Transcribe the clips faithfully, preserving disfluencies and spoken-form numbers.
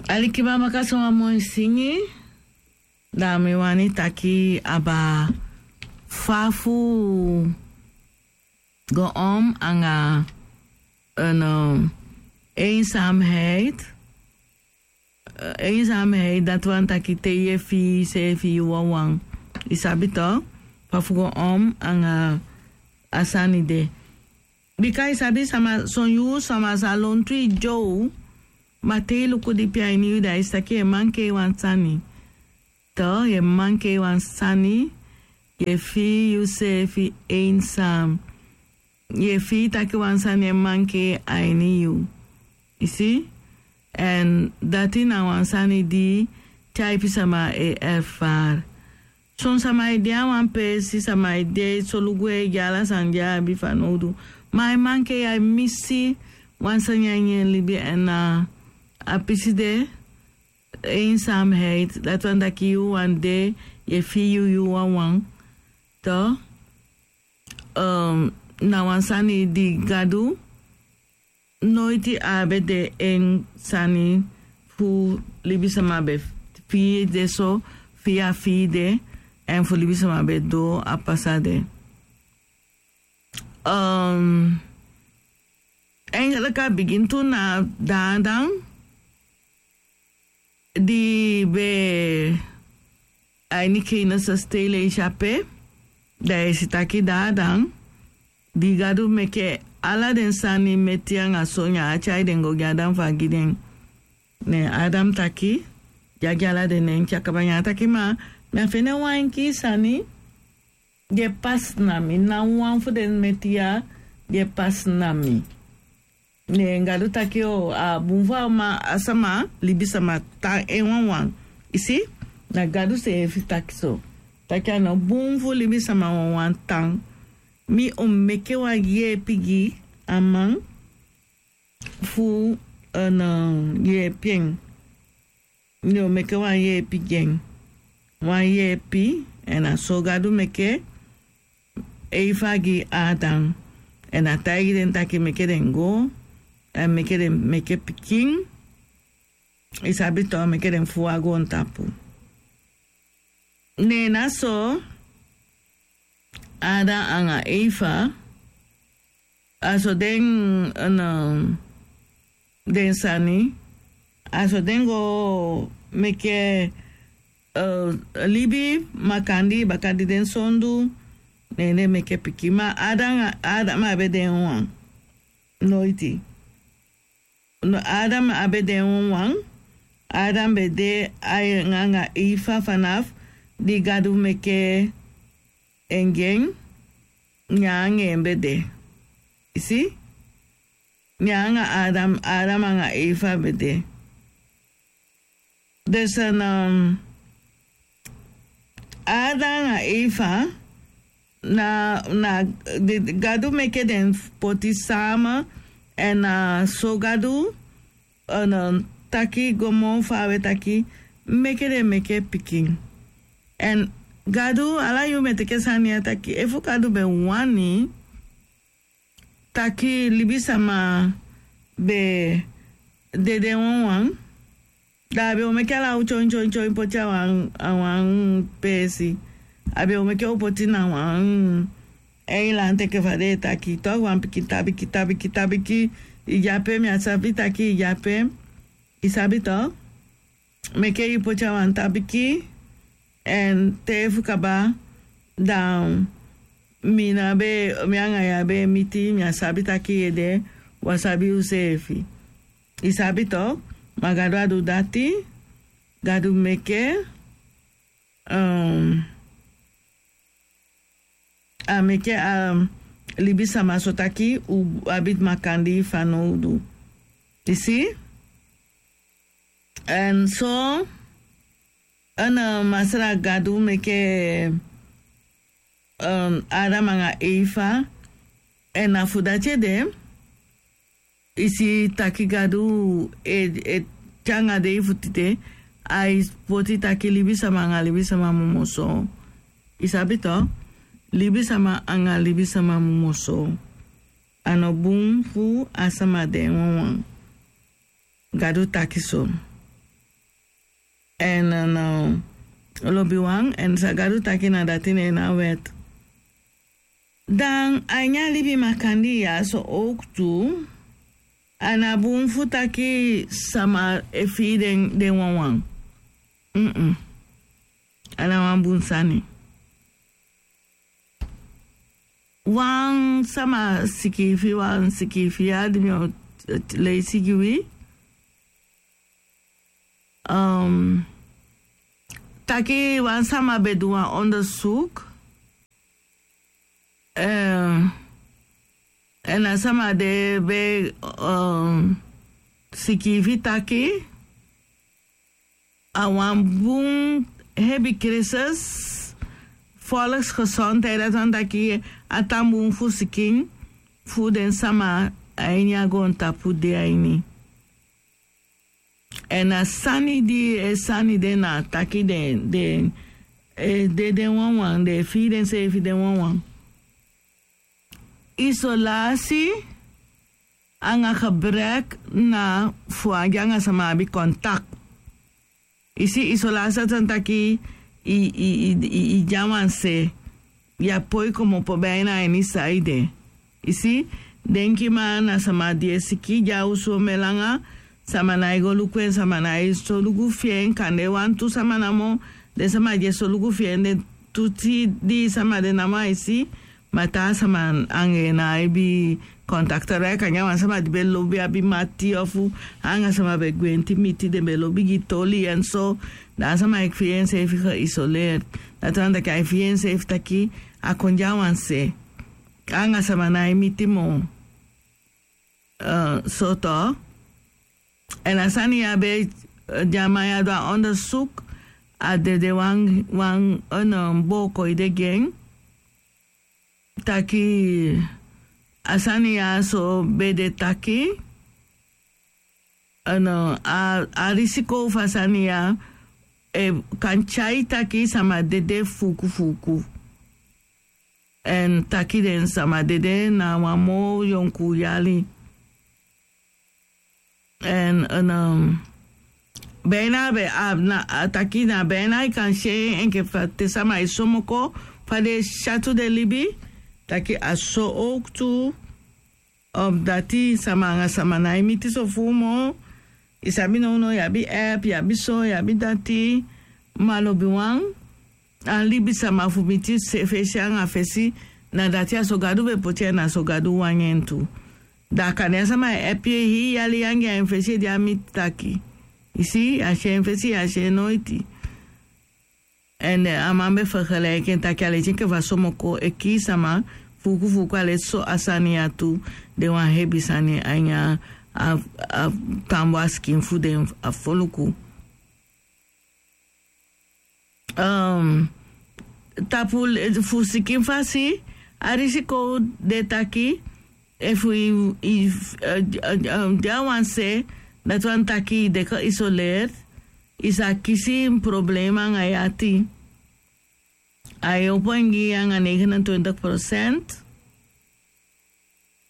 Alikiba, maka so wan moi singi. Dan mi wani taki aba fa fu go om anga en, um, eenzaamheid. Eh, eenzaamheid, dati wani taki te yu e fii yuseefi yu wawan. Yu sabi tok, fa fu go om anga a sani de. Bika yu sabi sama, son yuu sama sa lontu yu dyow, ma te yu luku dipi a ini yu, dan yu si taki yu e mankei wan sani. Tok, yu e mankei wan sani, yu e fii yuseefi eenzaam. Yu e fii taki wan sani e mankei a ini yu. Yu si? Èn dati na wan sani di tyaipi sama e erfari. Son sama e de a wan peesi, sama e de solugu e gi ala sani di a abi fanowdu. Ma a e mankei, a e misi wan sani a ini en libi, èn na a pisi de, eenzaamheid, dati wani taki yu wan de, yu e fii yu, yu wawan. Tok, um, na wan sani di Gadu noiti a be de en sani fu libisama be fii de so, fii a fii de, èn fu libisama be doo a pasa de. Um, eigenlijk a bigin tu na Adam, di be a ini Kenese stei leisi ape, dan yu e si taki Adam, di Gadu meke ala den sani meti anga so, ne a tyai den go gi Adam fu a gi den. Ne Adam taki, di a gi ala den nen, te a kaba, ne a taki, ma mi á fende wan enkii sani di e pasi na mi, ná wan fu den meti ya di e pasi na mi. Ne Gadu taki, o, a bun fu a ma, a sama, libisama tan en wawan. Yu si, na Gadu seefi taki so. Taki a no bun fu libisama wawan tan. Mi o meke wan yeepi gi a man fu, eh, yeepi en. Mi o meke wan yeepi gi en. Wan yeepi, èn na so Gadu meke Eva gi Adam. Èn a taigi den taki meke den go, èn meke den meke pikin. Yu sabi tok, meke den fuu a goontapu. Ne na so Adam anga Eva, a so den, en, den sani, a so den go meke, eh, libi makandii baka di den sondu, ne den meke pikin. Ma Adam, Adam á be de en wawan. Noiti. No, Adam á be de en wawan. Adam be de anga Eva fanafu di Gadu meke en gi en, ne en anga en be de. Yu si? Ne en anga Adam, Adam anga Eva be de. Dus, en, um, Adam anga Eva, na, na, di, Gadu meke den poti sama, èn, eh, so Gadu, eh, na taki go moo faawe taki, meke den meke pikin. Èn Gadu, ala yuu mi e teke sani ya taki, efu Gadu be wani taki libisama be de den wawan, da a be o meke ala u tyontyontyonty poti a wan, a wan peesi. A be o meke u poti na wan eiland enke fa den e taki, tok, wan pikin tabiki, tabiki, tabiki. Yu de ape, mi á sabi taki yu de ape. Yu sabi tok? Meke yu poti a wan tabiki, èn te fu kaba, dan mi ná be, mi anga yu á be e miti, mi á sabi taki yu e de, u á sabi useefi. Yu sabi tok, ma Gadu á du dati, Gadu meke, um, a meke a libisama so taki u abi makandii fanowdu. Yu si? Èn so, en, eh, Masra Gadu meke, um, Adam anga Eva, èn na fu dati ede, yu si taki Gadu e, e, te anga dei fu tide, ai poti taki libisama anga libisama mu moo soow. Yu sabi tok? Libisama anga libisama mu moo soow. A no bun fu a sama de en wawan. Gadu taki so. Èn lobiwan èn san gadu taki na dati na en na wèt. Dan a ini a libi makandii ya so owktu, a na bun fu taki sama e fii den wawan. A na wan bun sani. Wan sama sikiifi wan sikiifi ya di mi o leisi gi wi. Taki wan sama be du wan ondersuk. Èn a sama de be sikiifi taki a wan bun hebi krisis volksgezondheid, dati wani taki a tan bun fu sikin fu den sama a ini a goontapu de a ini. Èn a sani di e sani de na taki den den e de den wawan den e fii denseefi den wawan. Isolasi anga gebrek na fu anga sama abi kontak. I si isolasi a tan taki i i i i i dyawan se ya poi komopo bina a ini saide. I si, denki ma na sama di e siki dya usu o melanga. Sama na e go luku en sama na e solugu fi en kande wantu sama namo. Den sama di e solugu fi en den tu ti di sama de namo a e si. Ma taa sama anga en na e bi kontakte rek anga wan sama di be lobi abi mati ofu anga sama be gwenti miti den be lobi gi toli èn so. Dan a sama e fii enseefi geisoleerd. Dati wani taki a e fii enseefi taki a kon dyawan se anga sama na e miti moo. Soto èn a sani ya be di a man ya du a ondersuk. A dede wan wan booko ede gi en taki a sani ya so be de taki a risiko fu a sani ya kan tyai taki sama dede fuuku fuuku. Èn taki den sama dede na wan moo yonku yali. Èn bina be a taki na bina i kan si en enke fa te sama e somoko fa den e syatu den libi. Taki a so owktu. Ofu dati sama anga sama na e miti so fuu moo. I sabi nownow yu abi app yu abi so yu abi dati. Ma lobiwan a libisama fu miti fesi anga fesi. Na dati a so gadu be poti en na so gadu wani en tu. Da a kande a sama e epi en hii yali yu anga en fesi ede a miti taki. I si yu a si en fesi yu a si en noiti. Èn a man be fergeleiki en taki a leti enke fa somoko e kii sama fuuku fuuku a leti so a sani ya tu. Den wan hebi sani a ini a tambu a sikin fu den a foluku. Tapu fu sikin fasi a risiko de taki efu i de a wan se dati wani taki i de kon isoleer. I sa kisi problema anga yu ati. A e opo en gi yu anga negenentwintig prosent.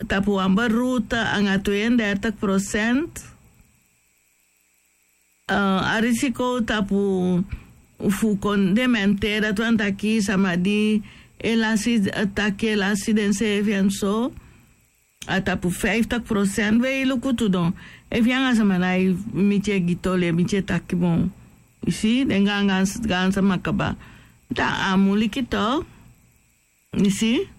Tapu wan beruta anga tweeëndertig prosent. A risiko tapu fu kon dementeri dati wani taki sama di e lasi taki e lasi denseefi èn so. A tapu vijftig prosent we yu luku tu don efu yu anga sama na e miti e gi toli e miti e taki bon. Yu si den gaangaan sama kaba. Dan a muliki tok. Yu si.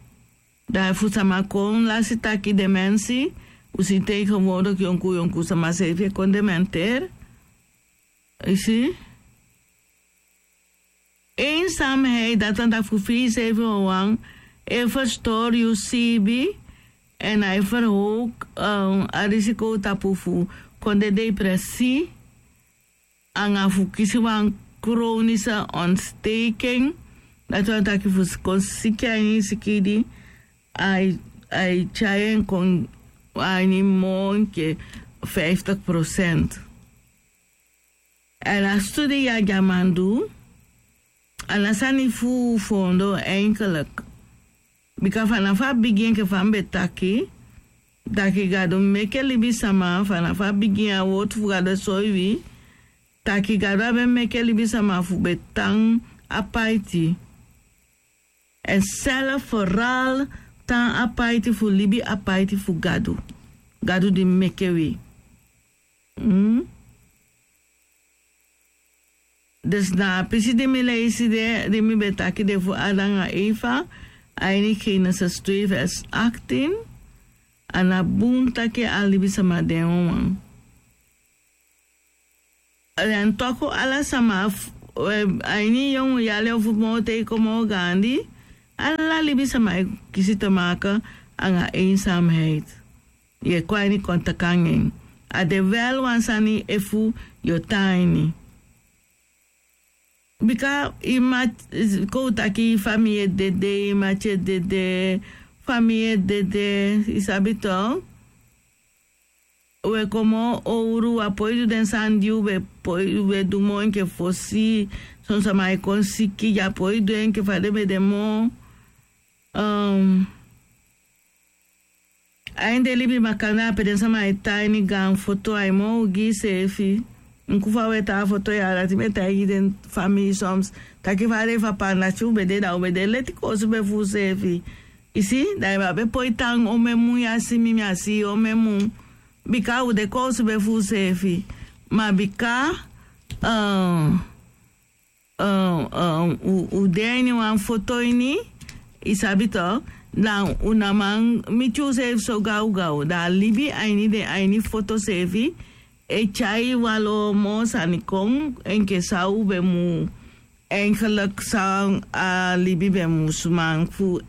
Dan efu sama kon lasi taki demensi u si tegenwoordig yonku yonku sama seefi e kon dementeri. Yu si. Eensamheid dati wani taki fu fii seefi wawan e ferstori yu siibi. Èn a e ferhowk a risiko tapu fu kon de depresi anga fu kisi wan kronise ontsteking. Dati wani taki fu kon siki a ini sikidi a e tyai en kon a ini moo enke vijftig prosent. Èn a studi ya di a man du a na sani fu foondoo enkeliki. Bika fanafu a bigin enke fa mi be taki taki gadu meke libisama fanafu a bigin a wortu fu gadu e soi wi. taki Gadu á ben meke libisama fu be tan apaiti. Èn sèlfu foral tan apaiti fu libi apaiti fu Gadu. Gadu di meke wi. Dus na a pisi di mi leisi de, di mi be taki de fu Adam nanga Eva, a ini Genesis twee vers achttien, a na bun taki a libisama de wan wan. Èn toku ala sama, a ini yongu yali ofu moo te i kon moo gaandi, ala libisama e kisi te maken anga eenzaamheid. Yu e kon a ini kontakti anga en. A de wel wan sani efu yu o tan a ini. Bika i mati, kon u taki i famii e dede, i mati e dede, famii e dede, i sabi to. U e kon moo owru, u á poi du den sani di u be poi, u be du moo enke fosi. Son sama e kon siki, yu á poi du enke fa den be de moo. A ini den libi makandaa pe den sama e tan a ini gaan foto, ai moo ogii seefi. Enke fa u e tan a foto ya, dati mi e taigi den famii soms. Taki fa a de fu a panda, te u be de, da u be de leti koosube fu useefi. I si, da i be abi poi tan omen mun, yu á si mi, mi á si yu omen mun. Bika u de koosube fu useefi. Ma bika u de a ini wan foto ini, i sabi to, da u ná man miti useefi so gawgaw. Da a libi a ini den, a ini foto seefi e tyai wan lo moo sani kon enke san u be mu, eigenlijk san a libi be mu suma fu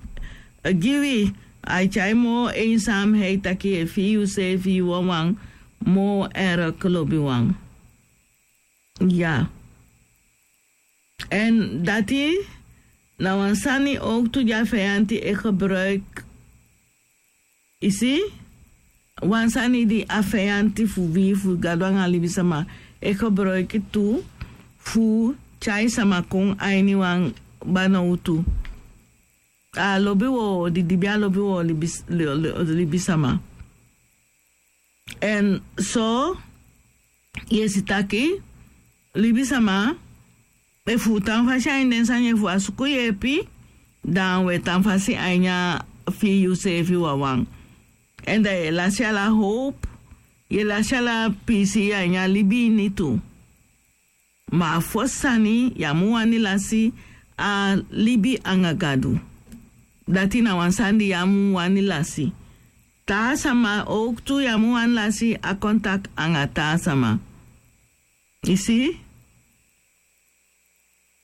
gi wi. Ai tyai moo eenzaamheid, taki yu e fii yuseefi yu wawan moo erg lobiwan. Ya. Èn dati na wan sani owktu di a feyanti e gebruik. I si, wan sani di a feyanti fu wi, fu Gadu anga libisama, e gebruik tu fu tyai sama kon a ini wan banowtu. A lobi wowo, didibi a lobi wowo, libis-, li-, li-, libisama. Èn so yu e si taki libisama, efu u tan fasi a ini den sani, efu u á suku yeepi, da u e tan fasi a ini a fii yuseefi wawan. Èn da yu e lasi ala howpu, yu e lasi ala piisii a ini a libi ini tu. Ma a fosi sani, yu á mu wani lasi a libi anga Gadu. Dati na wan sani di yu á mu wani lasi. Taa sama owktu, yu á mu wani lasi a kontakti anga taa sama. I si?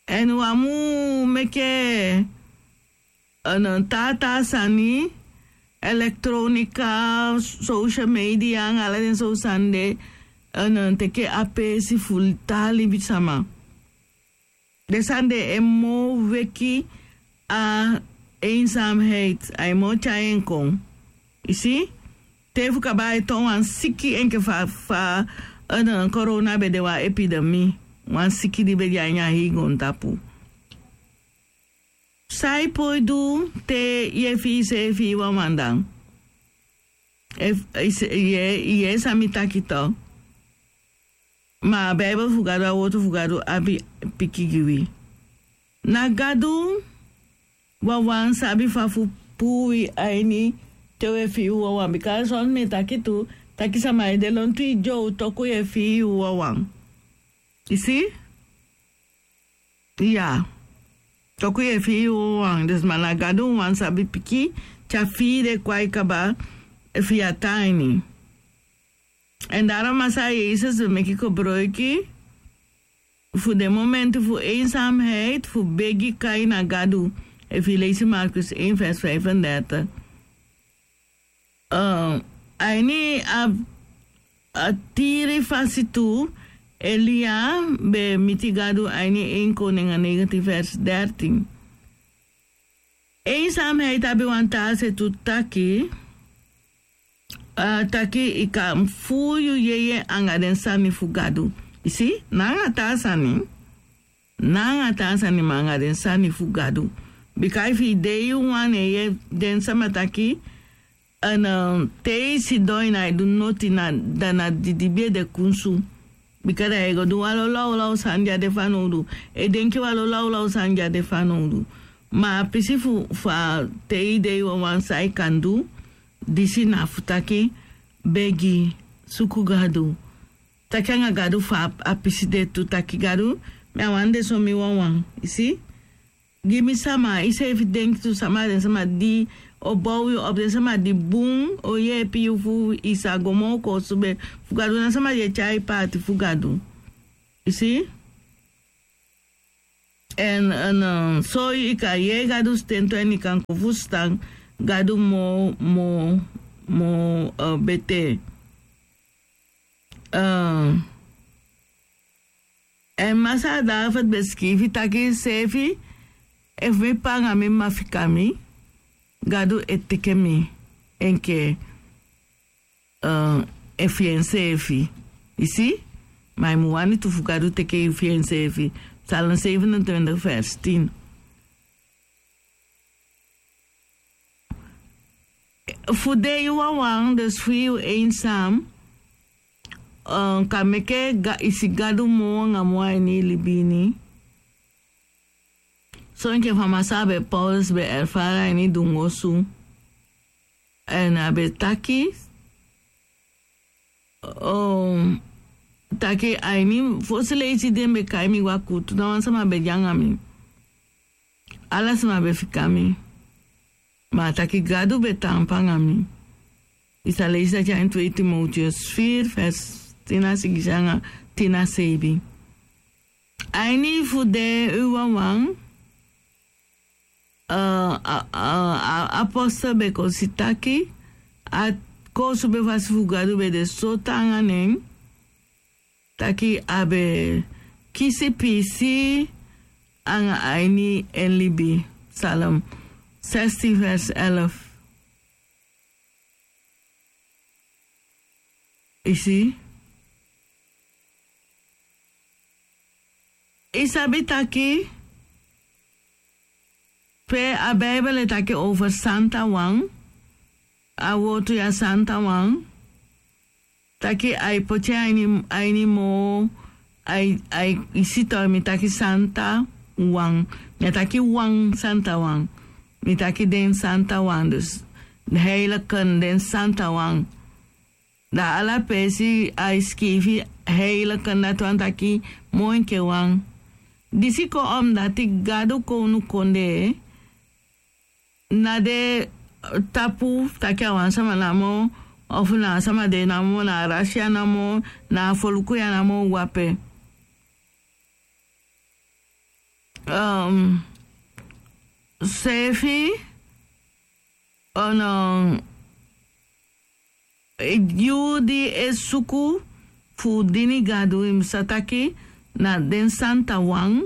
Èn u á mu meke, eh, taa taa sani, elektronika, social media anga ala den sowtu sani de, eh, teke a peesi fu taa libisama. Den sani de e moo weki a eenzaamheid, ai moo tyai en kon. I si? Te fu kaba ai toon wan siki enke fa, fa, eh, corona be de wan epidemie. Wan siki di be de a ini a hei goontapu. San i poi du te yu e fii yuseefi wawan dan? Efu, i si, yu e, yu e yee san mi taki to. Ma a Bijbel fu Gadu, a wowtu fu Gadu abi piki gi wi. Na Gadu wawan sabi fa fu puu wi a ini te u e fii u wawan. Bika son mi e taki tu, taki sama e de lontu i dyow toku yu e fii u wawan. I si? Ya. Toku yu e fii u wawan. Dus ma na Gadu wawan sabi piki te a fii de kwai kaba efu yu á tan a ini. Èn daarom Masaa Yesus be meki kobroiki fu den momenti fu eenzaamheid fu begi kai na Gadu. Efu yu leisi Markus één vers vijfendertig. Eh, a ini a, a tiri fasi tu, Elia be miti Gadu a ini één Koningen negentien vers dertien. Eenzaamheid abi wan taa se tu taki, eh, taki i kan fuu yu yeye anga den sani fu Gadu. I si, ná anga taa sani. Ná anga taa sani ma anga den sani fu Gadu. Bika efu i de yu wan, ne yu e yee den sama taki, èn, eh, te i sidon i ná e du noti, na, da na didibi ede kunsu. Bika da yu e go du wan lo lawlaw sani di a de fanowdu. E denki wan lo lawlaw sani di a de fanowdu. Ma a pisi fu fa te yu de yu wawan san yu kan du, disi na fu taki, begi, suku Gadu, taki anga Gadu fa a pisi de tu, taki Gadu, mi a wani de so mi wawan. Yu si? Gi mi sama, iseefi denki tu sama, den sama di o bow yu op, den sama di bun o yeepi yu fu i sa go moo koosube fu Gadu, na sama di e tyai paati fu Gadu. Yu si? Èn, èn, eh, so i kan yee Gadu sten tu èn i kan kon fusutan Gadu moo, moo, moo, eh, betee. Eh, èn Masaa David be sikiifi taki seefi, efu mi p'pa anga mi m'ma fika mi, Gadu e teke mi enke, eh, efu enseefi. Yu si? Ma i mu wani tu fu Gadu teke yu fi enseefi. Psalm zevenentwintig vers tien. Fu de yu wawan, dus fu yu eenzaam, eh, kan meke Ga-, i si Gadu moo anga moo a ini i libi ini. So enke fa Masaa be, Paulus be erfari a ini dunguu osu. Èn a be taki, um, taki a ini fosi leisi di den be kai mi gwe a kuutu, ná wan sama be de anga mi. Ala sama be fika mi. Ma a taki Gadu be taampu anga mi. I sa leisi dati a ini twee Timotheus vier vers tin na sigisi anga tin na seibin. A ini fu de yu wawan, eh, a, a, a, apostel be kon si taki a koosube fasi fu Gadu be de so taanga nen, taki a be kisi piisii anga a ini en libi. Psalm zestien vers elf. I si? I sabi taki pe a Bijbel e taki over santa wan, a wortu ya santa wan, taki ai poti a ini, a ini moo, ai, ai, i si tok, mi taki santa wan. Mi á taki wan santa wan. Mi taki den santa wan, dus de heiligen, den santa wan. Da ala peesi ai sikiifi heiligen, dati wani taki moo enke wan. Disi kon omdati Gadu kownukondee ná de tapu taki a wan sama namo, ofu na a sama de namo, na a rasi ya namo, na a foluku ya namo wape. Um, seefi, ono, yu di e suku fu dini Gadu, i mu sa taki na den santa wan,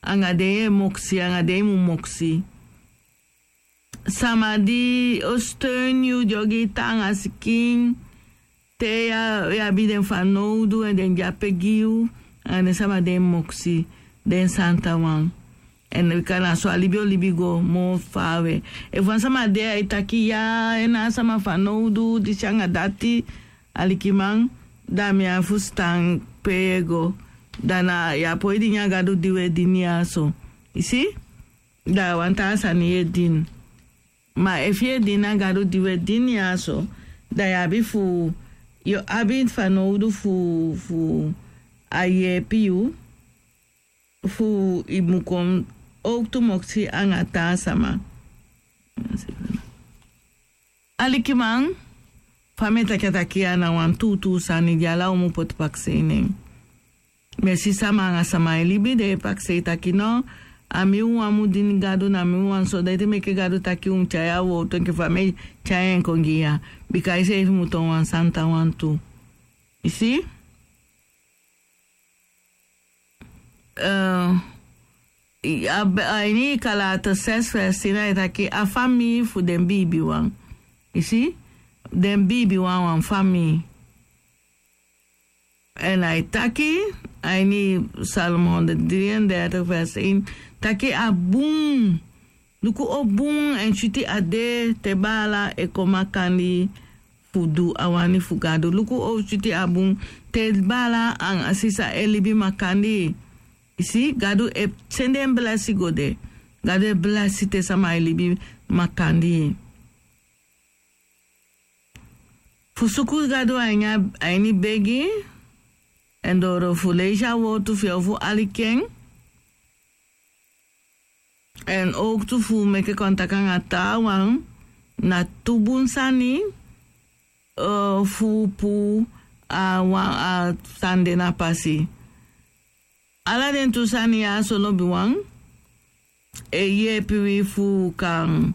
anga den yu e moksi, anga den i mu moksi. Sama di o steun yu, di o gi i taanga sikin te yu abi den fanowdu, èn den de ape gi yu, anga den sama di e moksi, den santa wan. Èn bika na so a libi o libi go moo faawe. Efu wan sama de ai taki ya, en na a sama fanowdu, disi anga dati, alikiman, da mi á fusutan pe yu e go. Da na yu á poi dini a Gadu di wi e dini ya so. I si? Da a wan taa sani yu e dini. Ma efu yu e dini a Gadu di wi e dini ya so, da yu abi fu, yu abi fanowdu fu, fu a yeepi yu, fu i mu kon owktu moksi anga taa sama. Alikiman, fa mi e taki a taki ya na wan tuutuu sani di ala u mu poti pakisei nen. Mi e si sama anga sama e libi, den e pakisei taki no, a mi wawan mu dini Gadu, na mi wawan so, da ete meke Gadu taki u mu tyai a wortu enke fa mi e tyai en kon gi ya. Bika iseefi mu toon wan santa wan tu. I si? Eh, i, a, a ini Galate zes vers tien ai taki a famii fu den biibiwan. I si? Den biibiwan wan famii. Èn ai taki, a ini Psalm honderd drieëndertig vers één, taki a bun. Luku o bun èn switi a de te baala e kon makandii fu du a wani fu Gadu. Luku o switi a bun te baala anga sisa e libi makandii. I si, Gadu e sende en blesi go de. Gadu e blesi te sama e libi makandii. Fu suku Gadu a ini a ini begi, èn doro fu leisi a wortu fi en fu aliki en. Èn owktu fu meke kontaki anga taawan na tu bun sani, eh, fu puu a wan a sani de na pasi. Ala den tu sani ya so lobiwan e yeepi wi fu kan